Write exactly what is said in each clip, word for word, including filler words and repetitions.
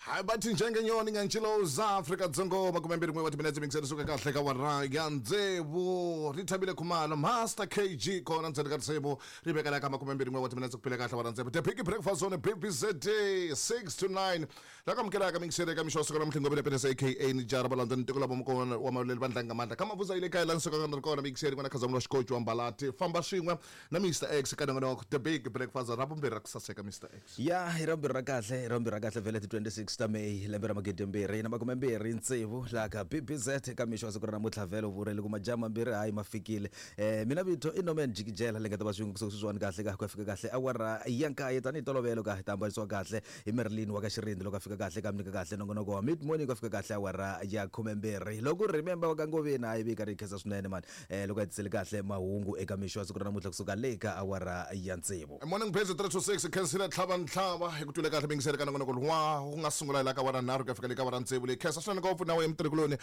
Hayi bathi njengenyoni ngantshiloza Afrika Dzonga makume mbirhi n'we wa timinetse mingiseni suka kahle ka wara ya Ntsevu Rithabile Khumalo Master K G kona ndzeni ka risimu ri vekela ka makume mbirhi n'we wa timinetse ku phila kahle wara Ntsevu The Big Breakfast on B B Z six to nine la ka amukelaka mingiseni eka mixo wa siku namuntlha Ngobeni Penesa A K A Nijara Valandzeni ntiko lava mukona wa malwele va ndlanga mandla ka mavuza ile kaya la nsuka ka kona mingiseni n'wana Khazamula Xikochi wa Mbalati famba swin'we na Mister X ka nongonoko The Big Breakfast ra vumbirhi ra ku saseka Mister X ya hi ra vumbirhi ra kahle hi ra vumbirhi ra kahle vhele ti twenty-six ta May lembe ra magidi mbirhi na makume mbirhi tsevu laha ka B B Z ka mixo wa siku ra namuntlha vhele vurele ku majaha mambirhi hayi ma fikile eh mina vito i Norman Jikijela le nga ta va swin'we kusuka sweswiwani kahle ka ku ya fika kahle awara ya nkaye tanihi tolovelo ka hi ta hambanisiwa kahle hi Merlin wa ka Xirindi loko a fika kahle ka mi nyika kahle nongonoko wa mid morning ku ya fika kahle awara ya khume mbirhi loko remember wa ka Ngoveni hayi vika ri khensa swinene mani eh loko a tisele kahle mahungu eka mixo wa siku ra namuntlha kusuka le ka awara ya tsevu Morning Busy three two six khensile tlhava ntlhava hi ku twile kahle mingisele ka nongonoko wa ku nga sungula la ka wara nharhu ku ya fika le ka wara tsevu leyi khensa swinene ngopfu na wena mutirhikuloni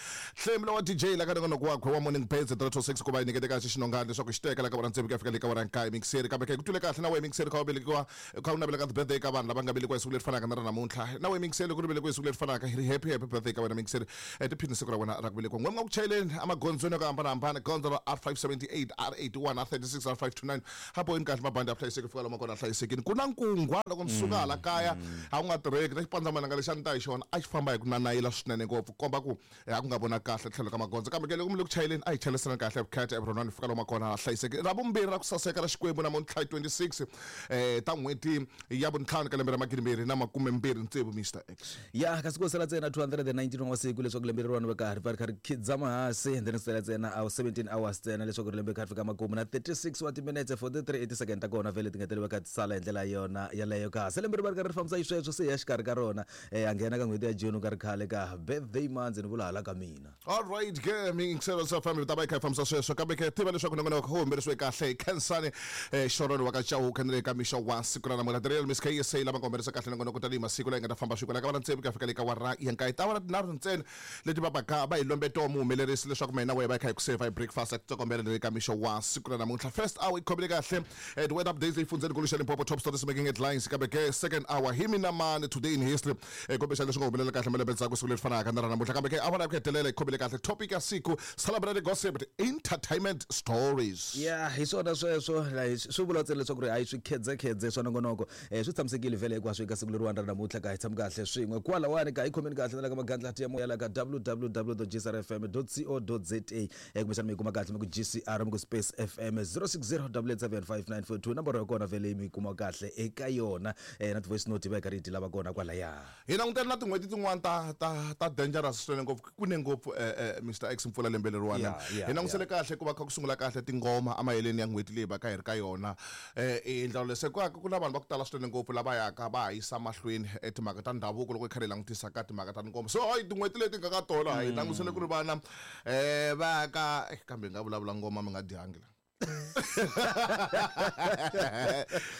Hlembula wa D J la ka nongonoko wakwe wa Morning Busy three two six ku va yi nyikete kahle xinongani leswaku xi teka la ka wara tsevu ku ya fika le ka wara nkaye mingisele kambe ke ku twile kahle na wena mingisele kha wa velekiwa kha u navela ka birthday ka vanhu lava nga velekiwa hi siku leri fanaka na ra namuntlha na wena mingisele ku ri velekiwa hi siku leri fanaka hi ri happy happy birthday ka wena mingisele tiphini siku ra wena ra ku velekiwa n'we mi nga ku chayeleni emagondzweni yo hambanahambana gondzo ra R five seventy-eight R eighty-one R thirty-six R five two nine hapo kahle mabandi ya hlayiseki fika lomu kona hlayisekini ku na nkungwa loko mi suka hala kaya a ku nga tirheki na xipandzamananga lexi a ni ta hi xona a xi famba hi ku nanayila swinene ngopfu komba ku a ku nga vona kahle tlhelo ka magondzo kambe ke loko mi le ku chayeleni a hi chayelisaneni kahle vukheta everyone fika lomu kona hlayiseki ra vumbirhi ra ku saseka ra Xikwembu namuntlha hi twenty-six eh ta n'hweti ya vuntlhanu ka lembe ra magidi mbirhi na makume mbirhi tsevu Mister X ya kasi ku sala ntsena two hundred and nineteen wa masiku leswaku lembe leriwani va karhi va ri kha ri khidzama hansi and then sala ntsena a seventeen hours ntsena leswaku ri lembe kha ri fika makumu na thirty-six wa timinetse forty-three eighty second ta kona vhele ti nga tele va kha ti sala hi ndlela yona yaleyo ka se lembe ri va ri karhi ri fambisa xisweswo se ya xikarhi ka rona eh a nghena ka n'hweti ya June ka ri khale ka birthday month ni vula hala ka mina all right ke mingiselo sa family ta va yi kha yi fambisa sweswo kambe ke tiva leswaku nongonoko wu humelerisiwe kahle hi Khensani eh Xorolo wa ka Chauke na le ka mixo wa siku ra namuntlha The Real Miss K S A lava nga humelerisa kahle nongonoko tanihi masiku laha yi nga ta famba swin'we la ka va na tsevu ku ya fika le ka wara ya nkaye ta wara tinharhu ntsena leti va baka va hi lombe to muhumelerisi leswaku mina wehe va yi kha yi ku save hi breakfast ku tsokombela le ka mixo wa siku ra namuntlha first hour yi khomile kahle eh the weather updates leyi fundzeni nkulu xa Limpopo top stories making headlines kambe ke second hour hi mina mani today in history eh kombisa leswi nga humelela kahle malembe ndzhaku siku leri fanaka na ra namuntlha kambe ke awara ya ku hetelela yi khomile kahle topic ya siku celebrity gossip entertainment stories ya hi swona sweswo la swi vula ntsena leswaku ri hayi swi khedzekhedze swa nongonoko eh swi tshamisekile vhele hinkwaswo eka siku leriwani ra namuntlha ka hi tshami kahle swin'we kwalawani ka hi khomeni kahle na la ka magandlati ya moya la ka w w w dot g c r f m dot co dot z a eh kumbexana mi yi kuma kahle mi ku G C R mi ku space F M zero six zero double eight seven five nine four two nomboro ya kona vhele mi yi kuma kahle eka yona eh na ti-voice note va yi karhi yi ti lava kona kwalaya hi langutele na tin'hweti tin'wana ta ta ta dangerous swinene ngopfu ku ne ngopfu eh, eh, Mister X mpfula lembe leriwani hi langusele kahle ku va kha ku sungula kahle tingoma emaheleni ya n'hweti leyi va ka hi ri ka yona eh hi ndlela leswi ku ku na vanhu va ku tala swinene ngopfu lava yaka va ha yisa mahlweni timhaka ta ndhavuko loko hi karhi hi langutisa ka timhaka ta tingoma so hayi tin'hweti leti nga ka tona hi langusele ku ri vana eh va ka kambe hi nga vulavula ngoma mi nga dyangi la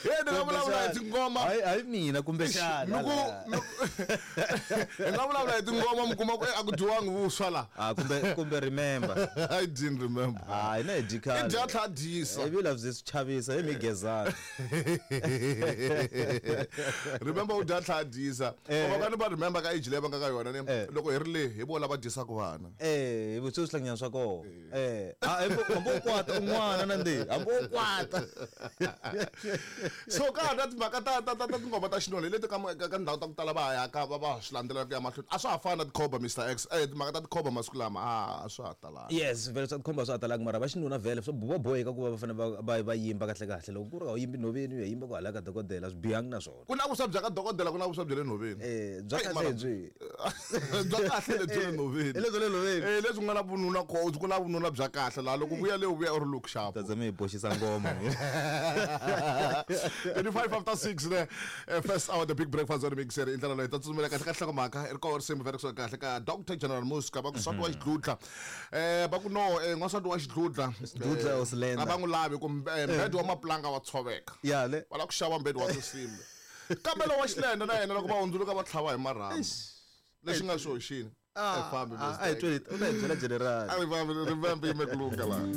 ye ni nga vulavula hi tingoma hayi hayi mina kumbexana mi ku hi nga vulavula hi tingoma mi kuma ku a ku dyiwangi vuswa la ah kumbe kumbe remember I didn't remember ah ina hi dyi i dya tlha dyisa hi vila byi swi chavisa hi migezana remember u dya tlha dyisa va ka ni va remember ka age leyi va nga ka yona ni loko hi ri le hi vo lava dyisaka vana eh hi vuswi swihlanganyana swa kona eh ah hambi u kwata un'wana na ndi hambi u kwata so ka na timhaka ta ta ta tingoma ta xinoni leti ka ka ndhawu ta ku tala va ya ka va va swi landzelela ku ya mahlweni a swa ha fani na tikhoba Mister X eh timhaka ta tikhoba masiku lama a swa ha talanga yes vhele swa tikhomba swa ha talanga mara va xinuna vhele swo va boheka ku va va fanele va va va yimba kahle kahle loko ku ri a wu yimbi nhoveni u ya yimba ku hala ka dokodela swi bihangi na swona ku na vuswa bya ka dokodela ku na vuswa bya le nhoveni eh bya kahle byi bya kahle lebyi le nhoveni lebyi le nhoveni eh lebyi nga na vununa ko ku na vununa bya kahle laha loko vuya le u vuya u ri look sharp ta mi boxisa ngoma twenty-five after six ne first hour the big breakfast on mixer i ndlela leyi ta tsutsumela kahle ka nhlokomhaka i ri koho risimu vhele kusuka kahle ka Doctor General Muska va ku nsati wa xidludla eh va ku no eh n'wansati wa xidludla xidludla o slender a va n'wi lavi ku mbhedo wa maplanga wa tshoveka ya le va lava ku xava mbhedo wa tinsimbi kambe lowa xilenda na yena loko va hundzuluka va tlhava hi marhambu lexi nga xo xini a hi tweli u ta hi byela general a ri remember yi mekulunga laha.